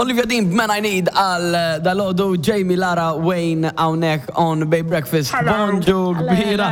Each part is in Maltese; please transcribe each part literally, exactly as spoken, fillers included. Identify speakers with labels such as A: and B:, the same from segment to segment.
A: Olivia Dean b'Man I Need għal dalgħodu, Jamie, Lara, Wayne hawnhekk on Bay Breakfast. Bonġu kbira.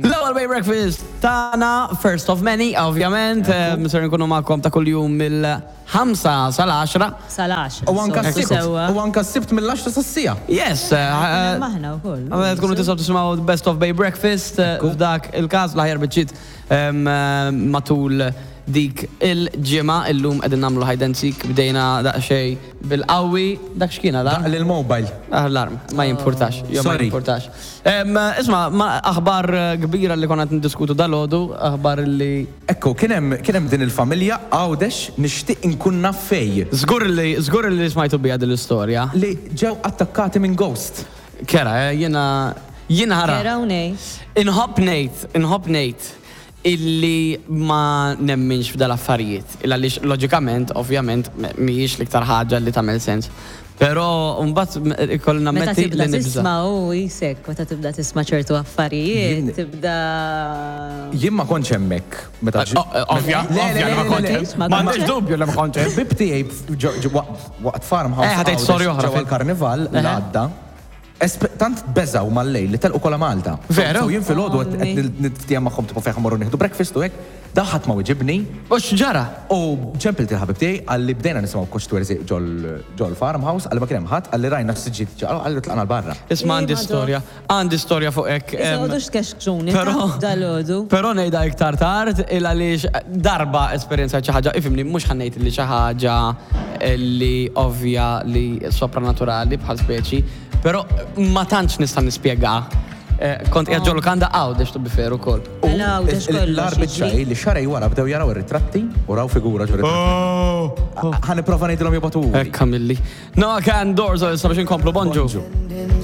A: L-ewwel Bay Breakfast tagħna, first of many, ovvjament, ser nkunu magħkom ta' kuljum mill-ħamsa sal-għaxra.
B: Sal-għaxra.
C: U anka
B: So,
C: s-sibt.
B: sewwa.
C: U anka s-sibt mill-għaxra sas-siegħa.
A: Yes, eh,
B: Maħna wkoll.
A: Għamela tkunu tistgħu tisimgħu The Best of Bay Breakfast eh, f'dak il-każ l-aħjar biċċiet em, eh, matul dik il-ġimgħa. Illum qegħdin nagħmlu hide and seek, bdejna daqsxejn bil-qawwi. Dak x'kien da?
C: Daq l-mobile.
A: Alarm, ma jimpurtax, jo ma
C: Sorry.
A: jimpurtax. Em, Isma, ma aħbar eh, kbira li konna qed niddiskutu dalgħodu, aħbar li
C: Ekku, kien hemm kien hemm din il-familja Għawdex, nixtieq inkun naf fej.
A: Żgur li żgur li smajtu bija din l-istorja.
C: Li ġew attakkati minn ghost.
A: Kera, eh, jiena jiena ħara.
B: Kera u nej.
A: Inħobb ngħid, inħobb ngħid illi ma nemminx f'dal-affarijiet. Illa għaliex loġikament, ovvjament, mhijiex l-iktar ħaġa li tagħmel sens. Però mbagħad ikolli
B: Meta
A: nammetti
B: tibda
A: li nibża.
B: tisma' u jisek, meta tibda tisma' ċertu affarijiet,
C: Jien-
B: tibda.
C: Jien ma kontx hemmhekk meta ġi-
A: Oh, eh, Ovvja,
C: Le, le,
A: ovvja li ma
C: le, le,
A: kontx
C: le.
A: hemm.
B: Ma
A: Ma għandix dubju li ma kontx hemm.
C: Ħbib tiegħi ġo- ġo- waqt waqt farmhouse
A: Eh, ħa tgħid
C: Għawdex
A: storja oħra
C: ġewwa
A: fil-
C: l-karnival
A: Eħe.
C: l-għadda. Espe- Tant beżaw mal-lejl li telqu kollha Malta.
A: Veru?
C: So jien filgħodu qed
B: Ommi.
C: niftiehem magħhom tipo fejn morru nieħdu breakfast u hekk, daħat ma wiġibni.
A: U x'ġara?
C: U ċempilt il-ħabib tiegħi, għalli bdejna nisimgħu koċ twerzi ġol farmhouse, għalli ma kien hemm ħadd, għalli rajna s-siġġiet ġaqgħu, għalli tlaqna l-barra.
A: Isma' għandi
B: Eh, madò.
A: storja, għandi storja fuq hekk.
B: Issa
A: em,
B: għodux tkexkxuni,
A: Però-
B: dalgħodu.
A: Però ngħidha iktar tard il għaliex darba esperjenza xi ħaġa, ifhimni, mhux ħa ngħid li xi ħaġa li ovvja li sopranaturali bħal speċi, però ma tantx nista' nispjega. Eh, Kont qiegħed ġol lukanda Għawdex, to be fair ukoll.
C: U
B: Mela, Għawdex kollox
C: l-arbit
B: jiġri.
C: xaj li xarej wara bdew jaraw ir-ritratti u raw figura ġo ritratti. Ħa nipprova ngħidilhom jibagħtu.
A: Ekka milli. Noah Kahan, Doors, issa biex inkomplu, bonġu.
C: Bonġu.